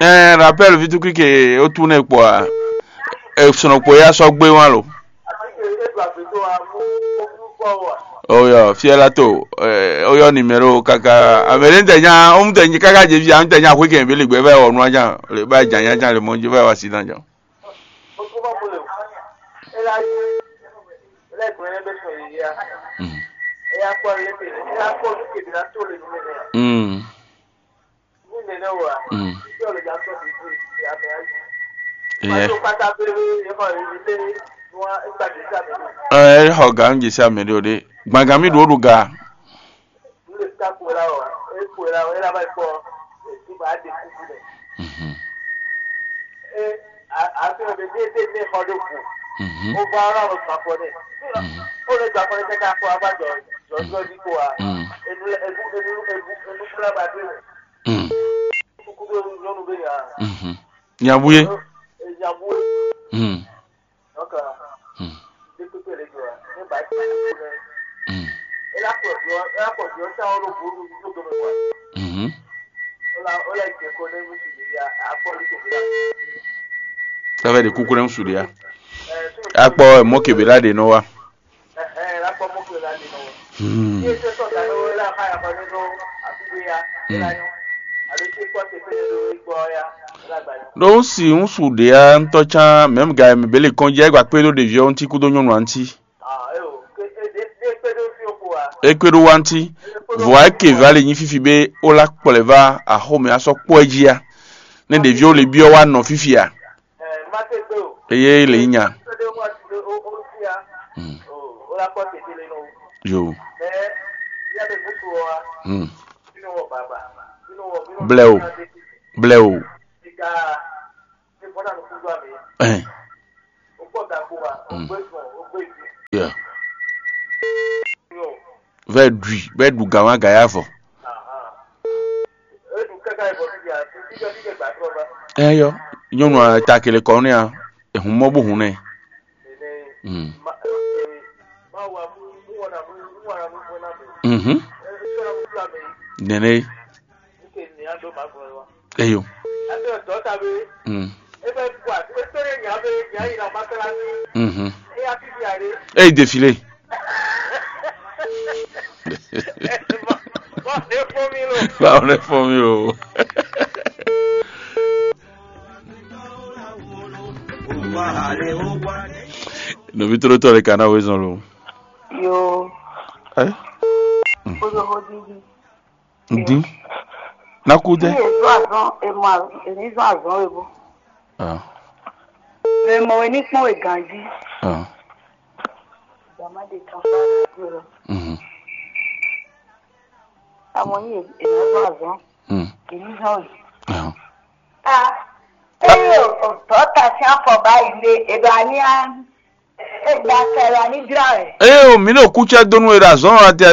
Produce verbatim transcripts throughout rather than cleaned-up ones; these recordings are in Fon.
Ɛɛ, rappel vitukike o tún ne kpɔ a? Esɔnɔ kpɔ ya sɔ gbé wan lo. Oyɔ fiɛ la to. Oyɔ numéro kaka amɛɖe tɛ nya ɔmu tɛ nyi kaka dzevi ɔmu tɛ nya xwé kɛn bili gbɛ vɛ wɔ nua jan le ba jan nya jan le mɔ dzi vɛ wɔ si dan jan. Mm. Mm. Ɛɛ, ɛ xɔ ga nú jesi amɛ ɖé o ɖé. Gbangán mi ɖu ó ɖu ga. Mhm. Mhm. Mhm. Mm. Mm. Mhm. Nyabuye. Mm. Mm. Mm. Mhm. Tɔ́ vɛ ɖe kúkú nɛ́ ŋu su ɖe ya. Akpɔ mɔ̌ kebě lá ɖe nɔ wa. Hmm. Hmm. Ɖó un si un su ɖě ɔ́ ŋutɔ́ cán mɛ̌m ga e mɛ bě lě kɔn jɛ é gba kpé ɖó ɖevi ɔ́ ŋuti kúdó nyɔ́nu ǎ ŋuti. É kpé ɖó wá ŋuti. Vɔ̌ é ke vǎ lě nyí fífi bé ó lá kplɔ̌ ɛ vá axɔ́mɛ á sɔ́ kpɔ́ ɛ jí á. Nɛ́ ɖevi ó lě byɔ́ wá nɔ fífi a? Eye lě nyí nya. Hmm. Yo. Hmm. Blɛ o. Blɛ o. Ɛn. Hmm. Yeah. Vɛ ɖui, vɛ ɖu gǎn wá gǎ ya vɔ. Ɛ yɔ, nyɔnu a ta kele kɔ nɛ a, ehun mɔ bó hun nɛ. Hmm. Mhm. Nɛnɛ. Eyo. Mm. Mhm. Ey défilé. Ba on est formé lo. Nɔvi tlóló tɔn ɖé ka ná wezɔn lo. Yo. Ɛ? Kódó xó dídí. Dín. Ná kú dɛ. Ní èzó azɔn èmọ èní zɔn azɔn webo. Ah. Èmọ wé ní kpɔn wé ganjí. Ah. Mhm. Amɔ yín è nɔ zɔn azɔn. Mm. Èyí zɔn yìí. Ahàn. Ah, eye o dɔta sín afɔ báyìí lé èdò àní á èdò akẹrẹ àní jra rẹ. Eye o, mi ɖo kúcɛ donu e ɖo azɔn wa te,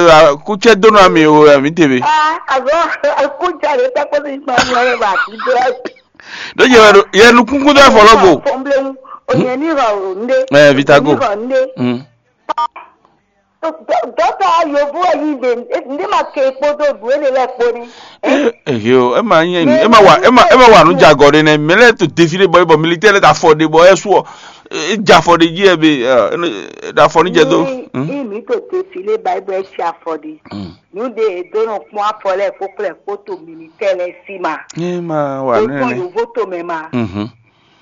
kúcɛ donu ami o, mi te be. Ah, azɔn kúcɛ rẹ tẹkpọ sí gbọmọ rẹ wà sí jra. Ɖó yɛ wɛ ɖo yɛ nukúnkún dó afɔ lɔ go. Fɔnbléwu, òyìn ní rọ òǹdé. Ɛ, Vitago. Ní rọ òǹdé. Mm. Dɔkta yovo yi de, ne ma ke kpódó ɖu ele lɛ kpó ni. Ehe o, ema nyɛ ema wa ema ema wa nu jagɔ ɖe nɛ, mɛ lɛ to defi ɖe bɔ bɔ militɛ lɛ ta afɔ ɖe bɔ ɛsu ɔ, e ja afɔ ɖe ji ɛ be ɖe afɔ ni jɛ do. Ni mi to defi le ba bɔ ɛsi afɔ ɖe. Nu de e do nɔ kpɔn afɔ lɛ kpó kplɛ kpó to militɛ lɛ si ma. Ema wa o tɔn nɛ. Yovo to mɛ ma. Mhm.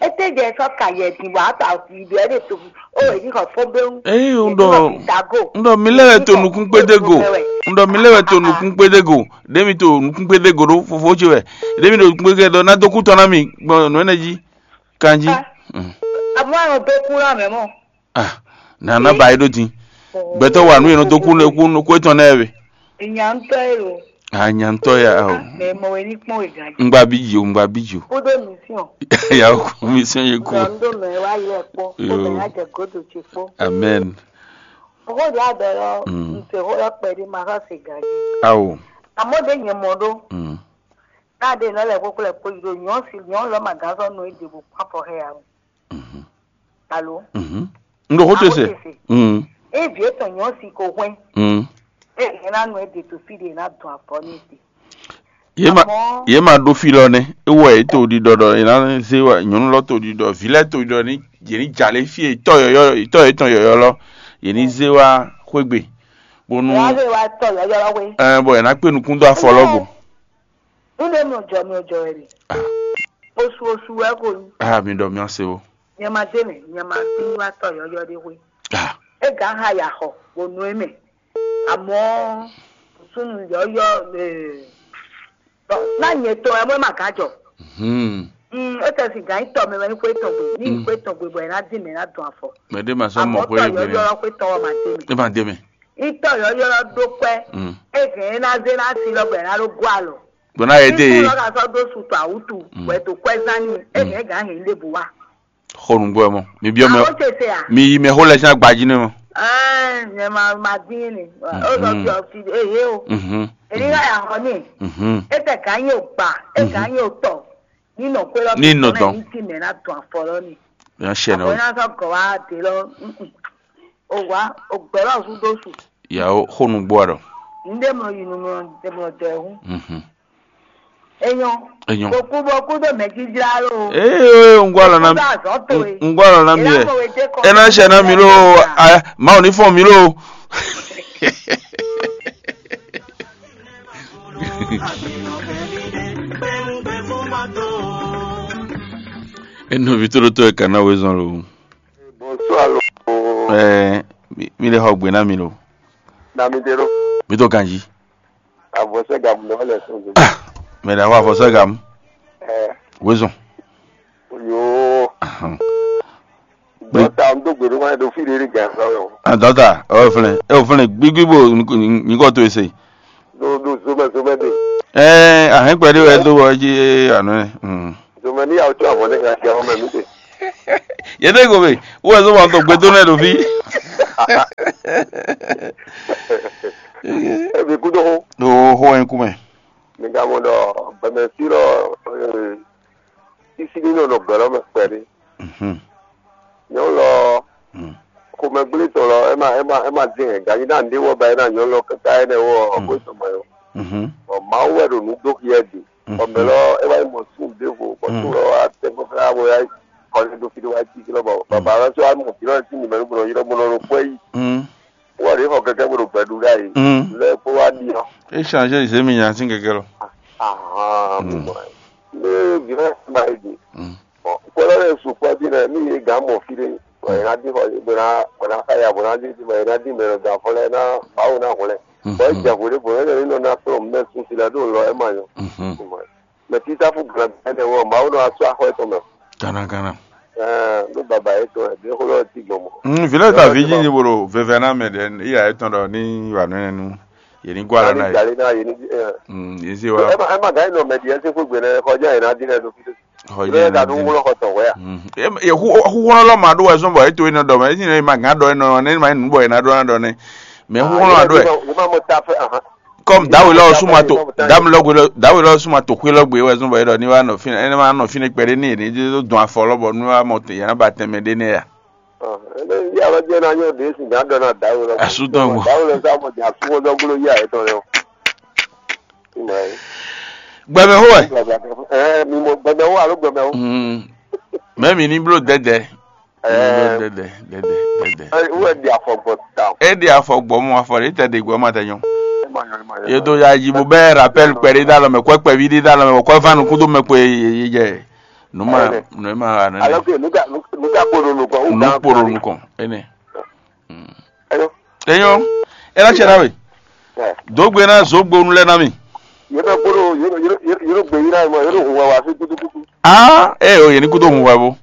Ete jɛ sɔ ka yɛ din wa ta fi ɖe ɖe to o e ni xɔ fɔn be wu. Eyi un ɖɔ un ɖɔ mi lɛ wɛ to nukún kpédé go. Un ɖɔ mi lɛ wɛ to nukún kpédé go. Ɖe mi to nukún kpédé go ɖo fofo ce wɛ. Ɖe mi ɖo nukún kpédé go ɖɔ na dó kú tɔn na mi gbɔn nǔ ɛnɛ jí. Kanjí. Àmọ́ àwọn tó kú náà mẹ́mọ́. Ah, nana ba yi ɖo din. Gbɛtɔ wa nu yɛn nɔ dó kú nɔ kú nɔ kú etɔn nɛ wɛ. Ìyàntọ́ èrò. Ah, nyantɔ ya o. Mɛ mɔ wɛ ní kpɔn wɛ gàdí. Ngba bí jo, ngba bí jo. Kúdó mission. Ya o, mission ye kú. Gbàndó mɛ wá yẹ kpó. Yo. Kó mɛ ajẹ gòdò tsi kpó. Amen. Owó di adɔ lɔ. Mm. Ntse hó lɔ kpɛ di ma xɔ se gàdí. Awo. Àmọ́ de nyɛ mɔ ɖó. Mm. Káde nɔ lɛ kókó lɛ kpó yi ɖo nyɔ̌ si nyɔ̌ lɔ ma gán sɔ́ nɔ é ɖe bó kpán fɔ hɛ ya o. Mhm. Alo. Mhm. N ɖo xó te se. Awo te se. Mm. E vǐ etɔn nyɔ̌ si ko hwɛn. Mm. E hɛn ná nɔ é ɖe to fí ɖe ná dun afɔ ní te. Ye ma Amɔ̌ ye ma ɖó fí lɔ nɛ. Ewɔ yě to ɖiɖɔ ɖɔ yě ná zé wa nyɔ̌nu lɔ to ɖiɖɔ vǐ lɛ́ɛ to ɖiɖɔ ní yě ní jalě fí e tɔ́ yɔ̌yɔ́ tɔ́ yětɔn yɔ̌yɔ́ lɔ yě ní zé wá xwé gbe bónú Wá lè wá tɔ yɔyɔ wé. Ɛ bɔ yě ná kpé nukún dó afɔ lɔ go. Nílé mi ò jọ mi ò jọ ẹ rè. Ah. Oṣù oṣù ẹ kò ní. Ah, mi ɖɔ mi ase o. Nyɛ ma dé mɛ, nyɛ ma bí wá tɔ yɔyɔ ɖé wé. Ah. E gǎ ha yà xɔ wò nú ẹ mɛ. Àmọ́ súnú yɔyɔ ná nyɛ tɔ ẹ mọ́ ẹ ma gǎ jɔ. Hmm. Mm, e tɛ si gǎ nyí tɔ mɛ wɛ ní xwé tɔn gbe ní xwé tɔn gbe bɔ ẹ ná dín mɛ ná dùn afɔ. Mɛ ɖé ma sɔ́ mɔ àmọ́ xwé tɔ gbé yɔyɔ nɛ. Lɔ xwé tɔn wɔ ma dé mɛ. Ẹ ma dé mɛ. Itɔ yɔyɔ ɖó kwɛ. Mm. Eze ná zé ná si lɔ gbɛ ná ɖó gó alɔ. Gbɔn ná yɛ dé Ikú ye. Lɔ ka sɔ dó su tɔ awutu wɛ tó kwɛ zán ni eze gán hɛn lé bu wa. Xo nǔgbó ɛ mɔ. Mi biɔ mɛ. Awo tse se a. Mi yi mɛ xó lɛ sín agbají nɛ mɔ. Ɛɛ nyɛ ma ma dín ni. O lɔ fi ɔfi eye o. Mhm. Èyí ká yà xɔ ní. Mhm. Etɛ gán yóò gbà. Etɛ gán yóò tɔ. Ní nɔ kó lɔ Ní nɔ dɔn. Ní ti mɛ ná dùn afɔ lɔ ni. Yàn ṣẹ náà. Àbọ̀ iná sọ gọ̀ wá dé lọ. O wá o gbɛlɔ su dó su. Yàwó xónú gbó àdó. Ndé mlɔ yi nu mlɔ dɛ mlɔ dɛ hu. Mhm. Enyɔ. Enyɔ. Kò kú bɔ kú dó mɛ jíjá ló. Ee n gbọ́ àlọ́ náà. Kú dó àzọ́ tó e. N gbọ́ àlọ́ náà mi yẹ. Ẹ náà ṣe náà mi ló. Màá ò ní fún mi ló. Enu vi tó ɖó tó ɛ kana wezɔn lo. Bonsoir lo. Ɛɛ, mi mi le xɔ gbe na mi lo. Na mi de lo. Mi to ganji. Avɔsɛ gamu na le so. Ah, mɛ da wa avɔsɛ gamu. Ɛɛ. Wezɔn. Yoo. Ahan. Dɔta n do gbe ɖo wáyé ɖo fí ɖe ɖe gan sa wɛ o. Ah, dɔta, ɔ fɛnɛ, ɛ o fɛnɛ gbigbi bo nyikɔ to ese. Ɖo ɖo zomɛ zomɛ de. Ɛɛ, ahɛn kpɛ ɖe wɛ do wɔ dzi anɔ ɛ. Mm. Zomɛ ni yawo tso avɔ ne ka sia wɔmɛ mi de. Yɛtɛ ko be, wo ɛzɔ wɔn tɔ gbedo nɛ ɖo fí. Ebi kudo ho. Ɖo ho ɛn kumɛ. Mi ka mɔ ɖɔ bɛmɛ fi lɔ. Sisi ní nɔ nɔ gbɛ lɔ mɛ kpɛɖé. Mhm. Nyɔnu lɔ, mm, xomɛgblé tɔn lɔ, ema ema ema dín hɛn ganyi ná ndé wɔ ba ena nyɔnu lɔ kaka ene wɔ, mm, ɔgbó tɔn mɛ o. Mhm. Bɔn Mawu wɛ ɖo nǔ dó xi ɛ ɖe. Mhm. Ɔmɛ lɔ, e wá yi mɔ sún ɖěvo bɔ, mm, sún lɔ wá tɛ gbɔ fɛnɛ bɔ ya kɔni ɖo fi ɖé wá jí fi lɔ bɔ, mm, baba lɔ sɔ wá mɔ fi lɔ sí nìmɛ nú bɔ yɔrɔ bɔ nɔ kpɔ yi. Mm. Wɔ ɖe xɔ kɛkɛ bó ɖo gbɛ ɖu ɖa yi. Mm. Lɛ kpó wá ɖi ɔ. E change zemi nya sín kɛkɛ lɔ. Ahan, mm, mo mɔ. Ne vivɛ ma yi di. Mm. Bon, kpɔlɔ ɖe su kpɔ bi nɛ mi yi gan mɔ fi ɖe. Bɔ yina di xɔ bɔ na bɔ na xa ya bɔ na di bɔ yina di mɛ lɔ gan fɔ lɛ na bawo na xɔ lɛ. Mm. Bɔ e jɛ vo ɖe bɔ ne ne nɔ na kplɔ mɛ sun si lɛ ɖo lɔ e ma nyɔ. Mhm. Mɛ titafu gan ɛnɛ wɔ Mawu nɔ asɔ axɔ etɔn mɛ. Gana gana. Ɛɛ, ló baba yě tɔn ɛ, ɖě xó lɔ ti gbɔn mɔ. Mm, vǐ lɛ́ɛ ta vǐ nyinyi bo ɖo veve ná mɛ ɖe, iya etɔn ɖɔ ní wà nɔ nu, yě ní gwa ɖɔ ná yě. Jali ná yě ní. Mm, yě zé wa. Ɛ ma ɛ ma gǎn nɔ mɛ ɖi ɛ sí xwé gbe nɛ xɔjá yě ná dín ɛ ɖo fí. Xɔjá yě ná dín. Xwé lɔ ma ɖó wɛ zɔn bɔ é to yín ɖɔ mɛ, é nyí ma gǎn ɖɔ é nɔ, né ma nyí nǔ bɔ yě ná ɖɔ ná ɖɔ nɛ. Mɛ xú lɔ ma ɖó ɛ. Yě má mɔ ta fɛ ahan. Kɔm dawe lɔ suma to dam lɔ gbe lɔ dawe lɔ suma to xwe lɔ gbe wɛ zɔn bɔ yɛ dɔ ni wa nɔ fine ɛnɛ ma nɔ fine kpɛɖe ni ni do dɔn afɔ lɔ bɔ nu wa mɔ yɛ na ba tɛmɛ ɖe nɛ ya. Ɛnɛ yi alɔ jɛ na nyɔ de si nya dɔ na dawe lɔ. Asu tɔn gbɔ. Dawe lɔ sa mɔ nya su wɔ dɔ gbolo yi ayɛ tɔn lɛ o. Gbɛmɛ ho wɛ. Ɛɛ mi mɔ gbɛmɛ wo alo gbɛmɛ wo. Mɛ mi ni blo dɛdɛ. Ɛɛ. Dɛdɛ dɛdɛ dɛdɛ. Ɛɛ, wɛ di afɔ gbɔ ta. E ɖi afɔ gbɔ mɔ afɔ ɖe tɛ ɖe gbɔ ma tɛ nyɔ. Ye do ya yi bo bɛ rappel kpɛ ɖe da lɔ mɛ kɔ kpɛ vi ɖe da lɔ mɛ kɔ va nu kudo mɛ kpɛ ye ye jɛ. Nu ma nu ma wa nɛ. Alors que nous ka nous ka kpo ɖo nukɔn. Nu kpo ɖo nukɔn ene. Enyɔ. Ela tiɛ na we. Dogbe na zogbonu lɛ na mi. Yɛrɛ kpo ɖo yɛrɛ yɛrɛ yɛrɛ gbe yi na mɔ yɛrɛ hun wa wa fi kutukutu. Ah, eh, oh, yɛ ní kú tó hun wɛ bó.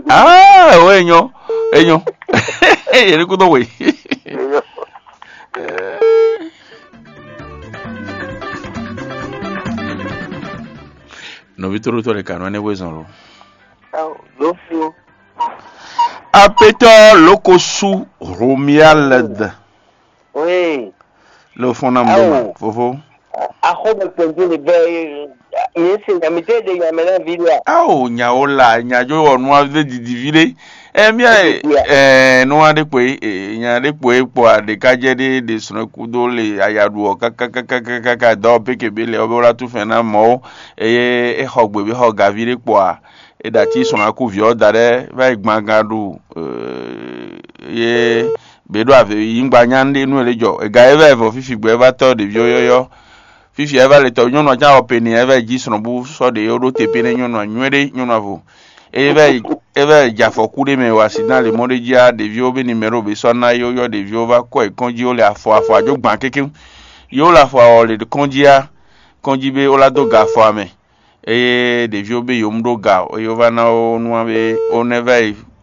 Ah, oh, enyɔ, enyɔ. Yɛ ní kú tó wɛ. Nɔvi tóɖótɔ́ ɖe kanú ɛnɛ wezɔn lo. Lófio. Apetɔ lókosu Romuald. Oui. Lo fɔn na mɔ ma fofo. Axɔ́mɛ kpɛndé le bɛ yě se nya mi tɛ ɖe nya mɛ na vi ɖe a? Ao nyawo la nyadzo wɔ nua ɖe didi vi ɖe. Ɛ mía ɛ nua ɖe kpo e nya ɖe kpo e kpɔ a ɖeka jɛ ɖe ɖe srɔ̃ kudo le ayaɖu ɔ kakakakaka dɔ pekebe le ɔbɛ wla tu fɛn na mɔ o. Eye e xɔ gbe be xɔ gavi ɖe kpɔ a. E ɖo ati sɔn akúvi ɔ́ da ɖɛ́ va yi gban gan ɖu ye bě ɖo avě yi ŋgba nya ɖé nú è lě jɔ. È ga é vɛ vɔ fífi gbɛ é vá tɔ́ ɖěví ɔ́ yɔ́yɔ́. Fífi ɛ vá le tɔ́ nyɔ́nu ɔ́ cán wɔ pe n'i ɛ vɛ jí srɔ́n bú sɔ́ ɖě ɔ́ ɖó te pé nɛ́ nyɔ́nu ɔ́ nywɛ́ ɖé nyɔ́nu ɔ́ vo. Eye vɛ eye vɛ jɛ afɔ kú ɖé mɛ wa si dán lě mɔ ɖé jí á ɖěví ɔ́ bé ni mɛ ɖo bě sɔ́ ná é yɔ́yɔ́ ɖěví ɔ́ vá kɔ yi kɔ́n jí ó le afɔ afɔ ajó gban kékéŋ. Yě ó le afɔ awɔ le kɔ́n jí á kɔ́n jí bé ó lá dó ga afɔ amɛ. Eye ɖeviwo be yǒmú ɖó ga eye wó vá ná wo nú be ó nɛ́ vá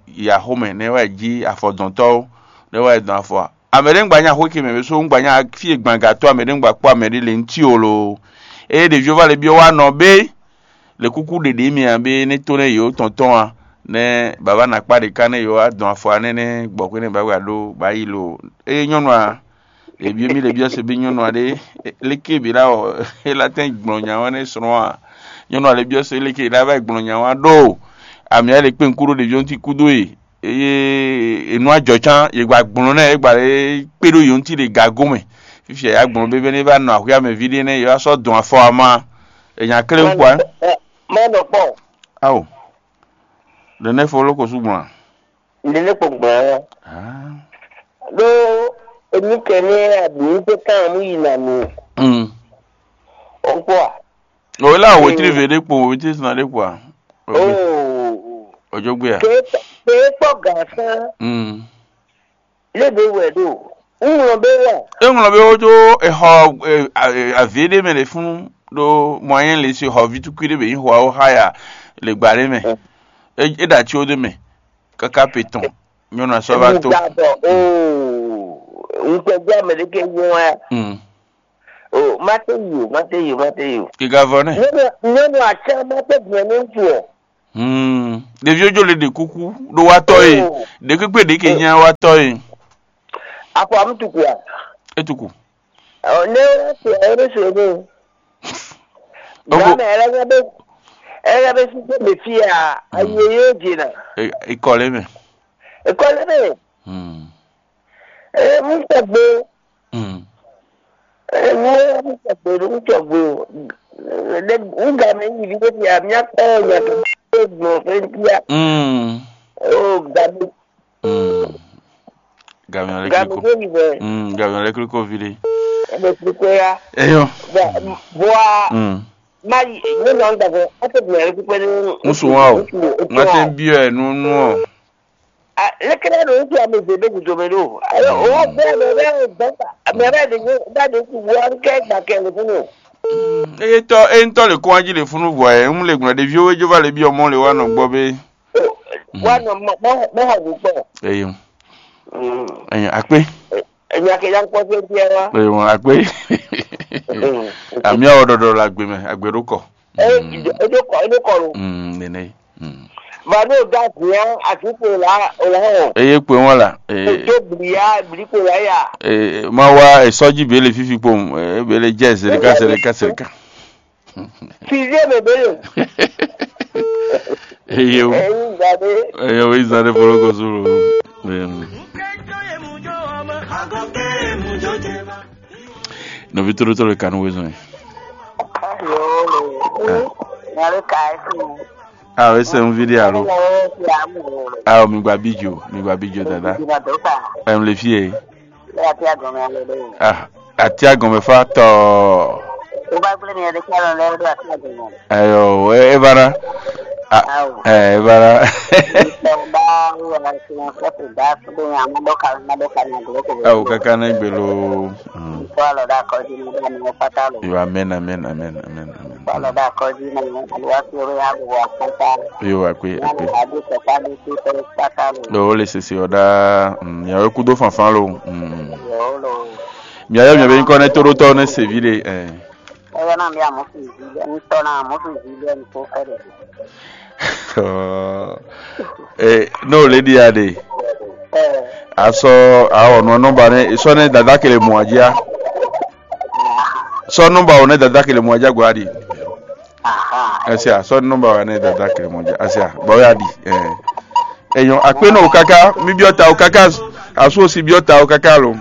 yi axomɛ nɛ́ wá yi jí afɔdɔntɔ́wo nɛ́ wá yi dɔn afɔ a? Amɛ ɖé ŋgba nya xwé ce mɛ bɛ só ŋgba nya fí e gban gatɔ́ amɛ ɖé ŋgba kpó amɛ ɖé le ŋtí o lo. Eye ɖeviwo vá le byɔ́ wá nɔ bé le kúkú ɖeɖe mì a bé nɛ́ tó nɛ́ yǒ tɔn tɔn a nɛ́ baba nakpá ɖeka nɛ́ yǒ wá dɔn afɔ a nɛ́nɛ́ gbɔ̌ xwé nɛ́ baba ɖó bá yi lo. Eye nyɔ́nu a Ebyɔ́ mì le byɔ́ se bí nyɔ́nu aɖé léké bǐ ɖá ɔ é lá tɛ́n gblɔn nya wá nɛ́ srɔ́n a? Nyɔ́nu aɖé byɔ́ se léké ɖá vá gblɔn nya wá ɖó amǐ a le kpé ŋkú ɖó ɖeví ɔ́ ŋuti kúdó e eye enú ajɔ cán yě gba gblɔn nɛ é gba lě kpé ɖó yě ŋuti ɖe gago mɛ. Fífi ya gblɔn bébé nɛ é vá nɔ axwíá mɛ ví ɖé nɛ́ yě wá sɔ́ dɔn afɔ ama è nya klé ŋkpɔ ɛ. Má nɔ kpɔ́n. Ao. Ɖe nɛ́ fo lóko sú gblɔn a? Nene kpɔn gbɔn ɔ. Ɖó emi kɛnɛ aɖǔ tɛ kan mú yi na mi. Ɔkpɔ a? O la wetri ve ɖe kpo wetri sina ɖe kpo a? Oo. Ojogbe a? Ke ke kpɔ gǎn sán. Lé be wɛ ɖo. Ŋlɔ be wɛ. E ŋlɔ be wojo exɔ avi ɖe mɛ ɖe fún ɖo moyen le si xɔ vitukui ɖe be yi xɔ awo haya le gba ɖe mɛ. E ɖe ati wo ɖe mɛ. Kaka pe tɔn nyɔnu asɔ va to. Ŋgbabɔ oo ŋkpɛgbɛ ame ɖe ke nyɔ wa. Mm. O mate yi o mate yi o mate yi o. Kika vɔ nɛ. Nyɔnu nyɔnu atsɛ mate gbɛ ne ŋutsu o. Hmm. Ɖeviwo dzo le ɖe kuku ɖo wa tɔ ye. Oh. Ɖe kpekpe ɖe ke nya wa tɔ ye. Afɔ amutuku a? Etuku. Ɔ ne wa se ɔ ne se ne. Ogo. Gama ɛlɛ nya be ɛlɛ nya be sise be fi a ayi ye dze na. Ikɔ le mɛ. Ikɔ le mɛ. Hmm. Ee mu tɔgbe. Hmm. Ee mu mu tɔgbe mu tɔgbe o. Ne mu game yi bi de fi a mia kɔ nya to gbɔn fɛ bia. Hmm. O game. Mm. Gamiɔ lɛ Gami kliko. Ko ni bɛ. Mm, gamiɔ lɛ kliko vi de. Ɛbɛ kliko ya. Eyo. Bɔ bɔ a. Mm. Ma yi ne nɔ n dafɛ. A tɛ bila yɛrɛ kpɛkpɛ ni. Musu wa o. Ma tɛ n bi ɛ nu nu o. A lekere do n ti a mi ze be gudo me do. Ayo o wa bɛ bɛ bɛ o bɛ ta. Mɛ bɛ de nye ba de ku wa n kɛ gba kɛ le funu. Mm, Eye tɔ eye ŋutɔ le kɔn ají le funu vɔ ɛ, un le gbɔn ɖeviwo e jó va le byɔ mɔ le wa nɔ gbɔ be. Wa nɔ mɔ mɔ mɔ hɔ bu kpɔ. Eye. Mm. Eye akpe. Enya ke ya kpɔ se bia wa. Eye wọn akpe. Mm. Ami awɔ ɖɔɖɔ le agbe mɛ, agbe ɖo kɔ. E e do kɔ e do kɔ lo. Mm, nene. Mm. Ba ne o da zia asi ko la o la hɔ. Eye kpe wọn la. O do blia bli ko la ya. Eh, ma wa esɔji bele fifi kpom, eh, bele jẹ seleka seleka seleka. Sixième bébé. Eyo. Eyi gbadé. Eyo, izan de fɔlɔ ko sulu. Em. Nɔvi toro toro kanu wezɔn. Yo. Nyalo kai fu. Ah, we se un video alo. Ah, mi gba bijo, mi gba bijo dada. Em le fie. Lé ati agɔnmɛ alo lé. Ah, ati agɔnmɛ fa tɔ. Ó bá gblé mi ɛdí kí alɔ lé ɖo ati agɔnmɛ. Ayo, e e bara. Ah, Awo. Eh, e bara. Ìtọ̀ bá wíwá sí wọn fẹ́ kò dá fúnbó yẹn àmọ́ dọ́kà má dọ́kà ní àgbo kò. Awo kaka ne gbelo. Mm. Kó alɔ dá kọjú ní bá ní wọ́n pátá lò. Yo, amen, amen, amen, amen, amen. Kó alɔ dá kọjú ní wọ́n àlùwá sí orí àbò wà pátá. Yo, akwe, akwe. Adé sọ̀kadé tó tọ́ pátá lò. Lo le sese ɔda. Mm, ya we kudo fanfan lo. Mm. Yo lo. Mia yɔ mia be nyikɔ ne to ɖo tɔ ne se vi ɖe. Eh. Ɛyɔ na mi amusu zi lɛ, ŋutɔ na amusu zi lɛ, ŋutɔ fɛ ɖe. Eh, no lady ade. Eh. Asɔ awɔ nɔ nɔmba ne sɔ ne dada kele mɔ adzi a. Sɔ nɔmba wo ne dada kele mɔ adzi a gwa di. Aha. Asia, sɔ nɔmba wa ne dada kele mɔ adzi a. Asia, ba wo ya di. Eh. Enyɔ akpe no kaka, mi biɔ ta o kaka, asu osi biɔ ta o kaka lo.